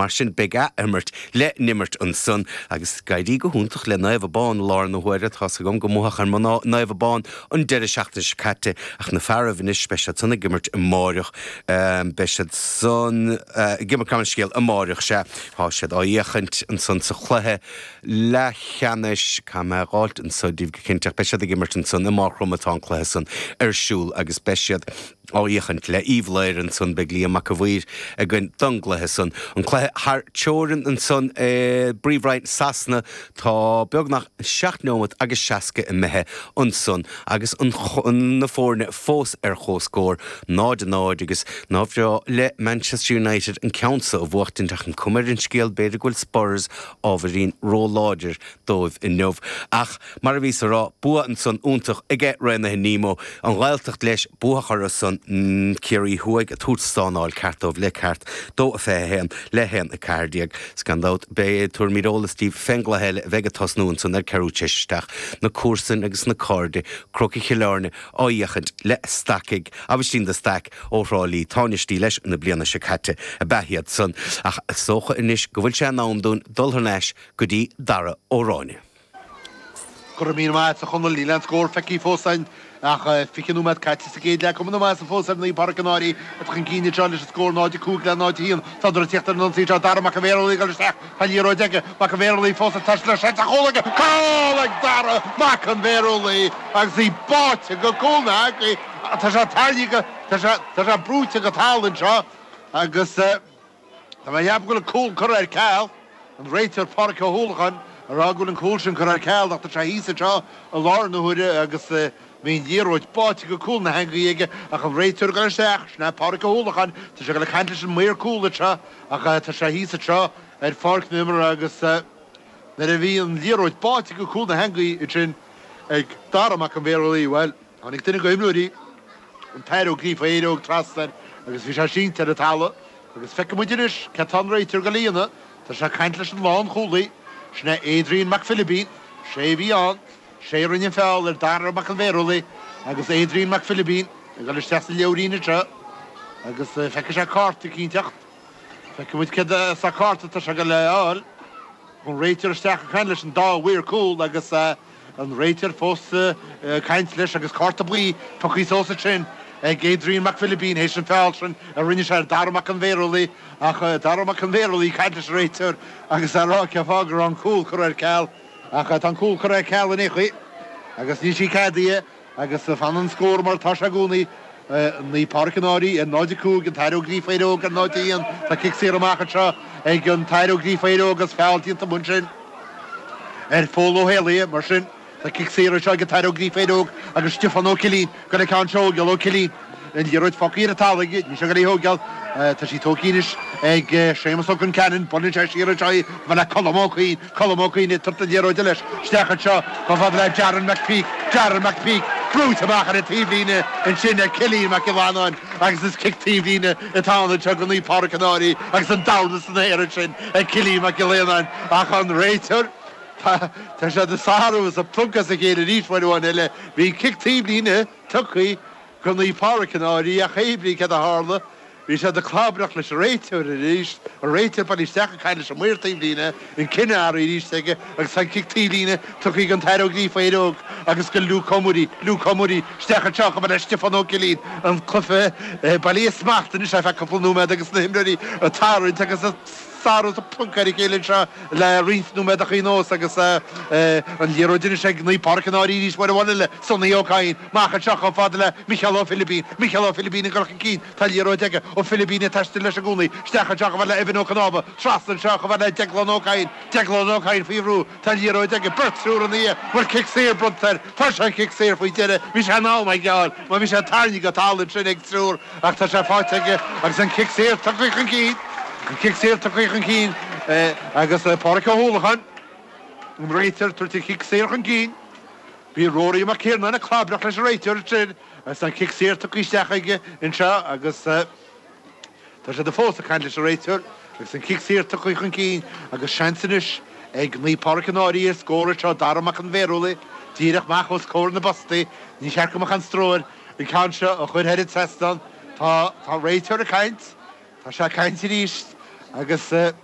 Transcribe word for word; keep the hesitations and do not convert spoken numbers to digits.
Mar sin beidh ath-imirt le n-imirt ansan agus ag éirí go hiontach le Naomh Abán i láthair na huaire. Tá gom go mbuach ar Naomh Abán an deireadh seachtaine seo caite, ach na fearaibh anois, beidh siad san ag imirt amárach, beidh siad san ag imirt gan scéal amárach sé tá siad á fhéachaint ansan sa chluiche leathcheannais cam gáilt anso díobh go cinnteach. Beidh siad ag imirt ansan i Maigh Chromtha atá an cluiche san ar siúl agus beidh siad á fhéachaint le Uíbh Laoire ansan. Beidh Liam Mac a Mhaoir againn don gcluiche san. An cluiche thar teorainn ansan i bPríomhroinn Sasana, tá beagnach seacht nóiméad agus seasca imithe ansan agus an na foirne fós ar comhscór náid a náid, agus nár bhreá le Manchester United an ceann seo a bhuachtaint, ach an cuma ar an scéal b'fhéidir go bhfuil Spurs ábhairín róláidir dóibh inniu. Ach mar a bhí á rá, bua ansan iontach aige Raonaithe Nemo, an Ghaeltacht leis buachar san Ciarraí Thuaidh a tabhairt stánáil ceart dóibh le ceart dó a fiche haon le haon a ceathair déag. Gan dabht beidh tuairimí eolas díobh fén gcluiche eile a bheidh ag tosnú ansan ar ceathrú tar éis a seacht, na comharsain agus na cairde Crócaigh Chill Airne á fhéachaint le Stacaigh Aibhistín de Staic ó Thrá Lí, tánaistí leis na bliana seo caite a ba iad san. Ach is dócha anois go bhfuil sé in am dúinn dul thar n-ais go dtí Dara Ó Ráinne. Go raibh míle maith agat, a Chonaill. Níl aon scór feicthe fós againn ach fiche nóiméad caite sa gcéad leath. Cuma na maitheasa fós ar Naomh Pádraig an Fhairche atá chun cinn anseo leis an scór náid a cúig le náid a haon. Tá ag tíocht ar an ionsaí seo, Dara Mac an Bhéarlaí ag dul isteach. Tá liathróid aige. Mac an Bhéarlaí fós ag taisteal leis sa chúl aige. Cúl ag Dara Mac an Bhéarlaí agus í báite go cúl na heangaí. Tá sé tarraingthe, tá sé tá sé brúite go talamh anseo agus tá mé ag ceapadh go bhfuil an cúl curtha ar ceal. An réiteoir Pádraig Ó hUallacháin a rá go bhfuil an cúl sin curtha ar ceal, ach tá sé thíos anseo i láthair na huaire agus bhí an liathróid báite go cúl na heangaí aige, ach an réiteoir ag isteach sin é Pádraig Ó hUallacháin. Tá sé le caint leis an maor cúl anseo, ach tá sé thíos anseo ar pháirc na himeartha agus nuair a bhí an liathróid báite go cúl na heangaí sin ag Dara Mac an Bhéarlaí, well, tháinig duine de imreoirí an tAthair Ó Gríofa Éireog trasna agus bhí sé sínte ar an talamh agus feicfidh muid anois cad tá an réiteoir ag déanamh. Tá sé caint leis an lánchúlaí, sin é Adrian Mac Philibín. Sé bhí an sé rinne an feall ar Dara Mac an Bhéarlaí agus Adrian Mac Philibín ag dul isteach sa leabhairín seo agus feicfidh sé cárta cinnteacht. Feicfidh muid cad sa cárta tá sé go le fháil. An réiteoir isteach ag caint leis an dá mhaor cúl agus an réiteoir fós caint leis agus cárta buí tugtha suas sin ag Adrian Mac Philibín théis an feall sin a rinne sé ar Dara Mac an Bhéarlaí, ach Dara Mac an Bhéarlaí caint leis an réiteoir agus á rá cén fáth go raibh an cúl curtha ar ceal, ach tá an cúl curtha ar ceal in aon chaoi agus níl sí ceadaithe agus fan an scór mar tá sé i gcónaí Naomh Pádraig an Fhairche ar náid a cúig, an tAthair Ó Gríofa Éireog ar náid a haon. Tá cic saor amach anseo ag an tAthair Ó Gríofa Éireog agus feall déanta ansin ar Phól Ó hÉalaithe. Mar sin tá cic saor seo ag an tAthair Ó Gríofa Éireog agus Stiofán Ó Cillín go le ceann seogeal Ó Cillín, an liathróid fágtha ar an talamh, ní se go thógáil. Tá sí tógtha anois ag Séamus Ó Ceanainn. Buaileann sé siar anseo le Colm Ó Cuinn. Colm Ó Cuinn ag tabhairt an liathróid leis isteach anseo chomh fada le Jaron McPeak. Jaron McPeak brúite amach ar an taobhlíne ansin ag Cillian Mac Giollarnáin agus is cic taobhlíne atá anseo go Naomh Pádraig an Fhairche agus an dorn san aer sin ag Cillian Mac Giollarnáin, ach an réiteoir, tá sé ag sárú is ag pluncadh a chéile arís amháin eile. Bhí cic taobhlíne tugtha go Naomh Pádraig an Fhairche, ach hébrí cad a tharla, bhí sé ag clabaireacht leis an réiteoir arís. An réiteoir bailithe isteach ag caint leis an maor taobhlíne, an cinneadh arís aige agus an cic taobhlíne tugtha an tAthair Ó Gríofa Éireog agus go Luke O'Murray. Luke O'Murray isteach anseo go le Stiofán Ó Cillín. An cluiche bailithe smacht anois ar feadh cúpla nóiméad agus na himreoirí ag tarraingt agus sárú a pluncadh ar a chéile seo le roinnt nóiméadacha anuas agus an liathróid anois ag Naomh Pádraig an Fhairche arís bhuel le Sonny Ó Cadhain amach anseo chomh fada le Micheál Ó Philibín. Micheál Ó Philibín ag dul chun cinn, tá liathróid aige. Ó Philibín ag taisteal leis i gcónaí isteach anseo chomh fada le Evan Ó Cnámha, trasna anseo chomh fada le Declan Ó Cadhain. Declan Ó Cadhain faoi bhrú, tá liathróid aige, beirt triúr ina dhiaidh. Bhfuil cic saor bronnta air? Tá sé cic saor faoi deireadh. Bhí sé in am ag geáil má bhí sé tarraingthe go talamh sin ag triúr, ach tá sé faighte aige agus an cic saor tugtha chun cinn. An cic saor tugtha chun cinn agus Pádraig Ó hUallacháin, an réiteoir, tabhairt an cic saor chun cinn. Bhí Rory Mac Ciarnáin ag clabaireacht leis an réiteoir sin agus an cic saor tugtha isteach aige anseo agus tá sé fós ag caint leis an réiteoir agus an cic saor tugtha chun cinn agus seans anois ag Naomh Pádraig an Fhairche ar scór seo. Dara Mac an Bhéarúlaí díreach amach os comhair na bpostaí. Ní cheart go mbeadh an stró air an ceann seo a chur thar an trasnán. Tá tá réiteoir ag caint, tá sé ag caint arís agus